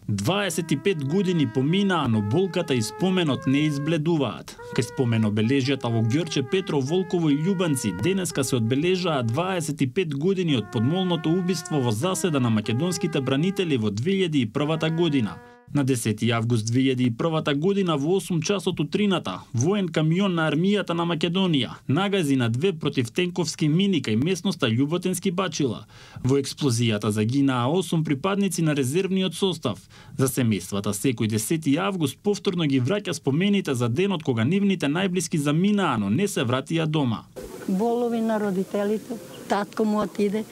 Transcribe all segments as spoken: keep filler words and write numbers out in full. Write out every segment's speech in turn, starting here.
дваесет и пет години поминаа, но болката и споменот не избледуваат. Кај спомен обележјата во Ѓорче, Петров, Волково и Љубанци денеска се одбележаа дваесет и пет години од подмолното убиство во заседа на македонските бранители во две илјади и првата година. На десети август две илјади и првата година во осум часот утрината, воен камион на армијата на Македонија нагази на две противтенковски мини кај местноста Љуботенски Бачила. Во експлозијата загинаа осум припадници на резервниот состав. За семејствата секој десети август повторно ги враќа спомените за денот кога нивните најблиски заминаа, но не се вратија дома. Болови на родителите, татко му отиде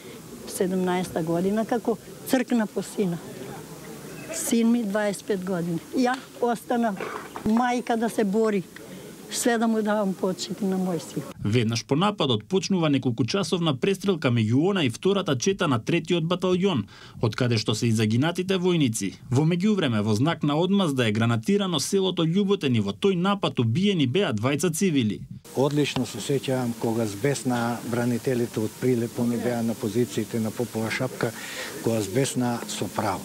седумнаесета година како цркна по сина. Син ми дваесет и пет години. Ја остана мајка да се бори. Све да му давам почити на мој син. Веднаш по нападот почнува неколкучасовна престрелка меѓу она и втората чета на третиот баталјон, од каде што се и загинатите војници. Во меѓувреме, во знак на одмазда е гранатирано селото Љуботен и во тој напад убиени беа двајца цивили. Одлично се сеќавам кога збесна бранителите од Прилеп, они беа на позициите на Попова шапка, кога збесна со право.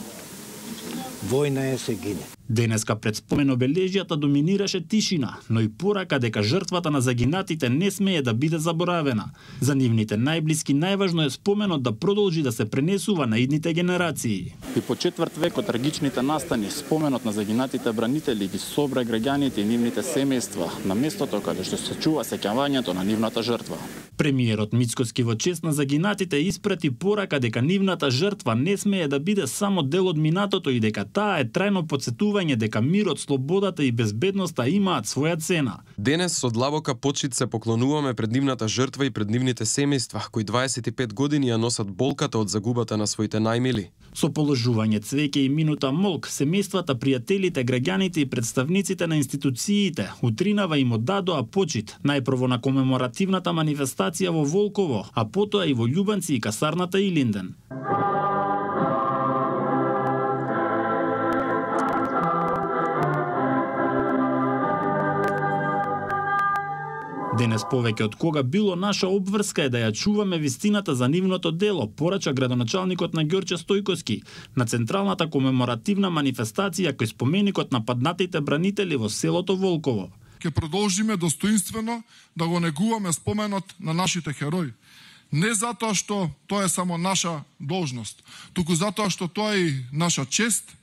Војна е, се гине. Денеска пред спомен обележјата доминираше тишина, но и порака дека жртвата на загинатите не смее да биде заборавена. За нивните најблиски најважно е споменот да продолжи да се пренесува на идните генерации. И по четврт век од трагичните настани, споменот на загинатите бранители ги собра граѓаните и нивните семејства на местото каде што се чува сеќавањето на нивната жртва. Премиерот Мицкоски во чест на загинатите испрати порака дека нивната жртва не смее да биде само дел од минатото и дека таа е трајно потсетување дека мирот, слободата и безбедноста имаат своја цена. Денес со длабока почит се поклонуваме пред нивната жртва и пред нивните семејства, кои дваесет и пет години ја носат болката од загубата на своите најмили. Со положување цвеќе и минута молк, семејствата, пријателите, граѓаните и представниците на институциите утринава им оддадоа почит, најпрво на комеморативната манифестација во Волково, а потоа и во Љубанци и касарната Илинден. Денес повеќе од кога било наша обврска е да ја чуваме вистината за нивното дело, порача градоначалникот на Ѓорче Стојковски на централната комеморативна манифестација кој споменикот на паднатите бранители во селото Волково. Ке продолжиме достоинствено да го негуваме споменот на нашите херои. Не затоа што тоа е само наша должност, туку затоа што тоа е и наша чест,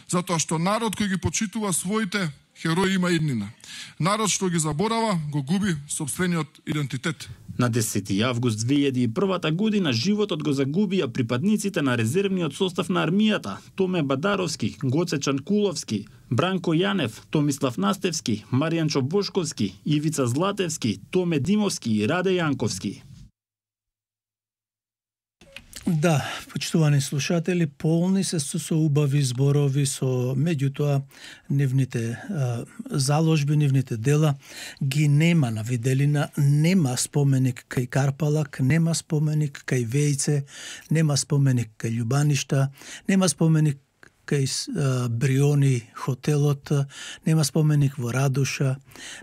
затоа што народ кој ги почитува своите херои има иднина. Народ што ги заборава, го губи сопствениот идентитет. На десети август две илјади и првата година животот го загубија припадниците на резервниот состав на армијата Томе Бадаровски, Гоце Чанкуловски, Бранко Јанев, Томислав Настевски, Маријанчо Бошковски, Ивица Златевски, Томе Димовски и Раде Јанковски. Да, почитувани слушатели, полни се со, со убави зборови, со меѓутоа нивните а, заложби, нивните дела ги нема на виделина, нема споменик кај Карпалак, нема споменик кај Вејце, нема споменик кај Љубаништа, нема споменик кај Бриони хотелот, нема споменик во Радуша,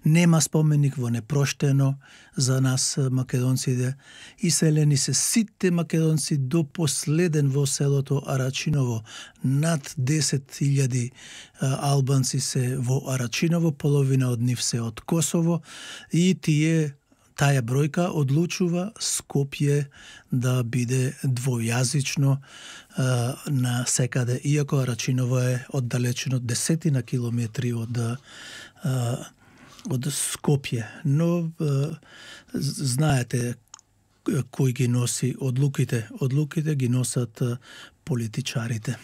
нема споменик во Непроштено за нас македонците. Иселени се сите македонци до последен во селото Арачиново. Над десет илјади албанци се во Арачиново, половина од нив се од Косово и тие таа бројка одлучува Скопје да биде двојазично а, на секаде, иако Арачиново е оддалечено десетина километри од а, од Скопје, но а, знаете кој ги носи одлуките, одлуките ги носат политичарите.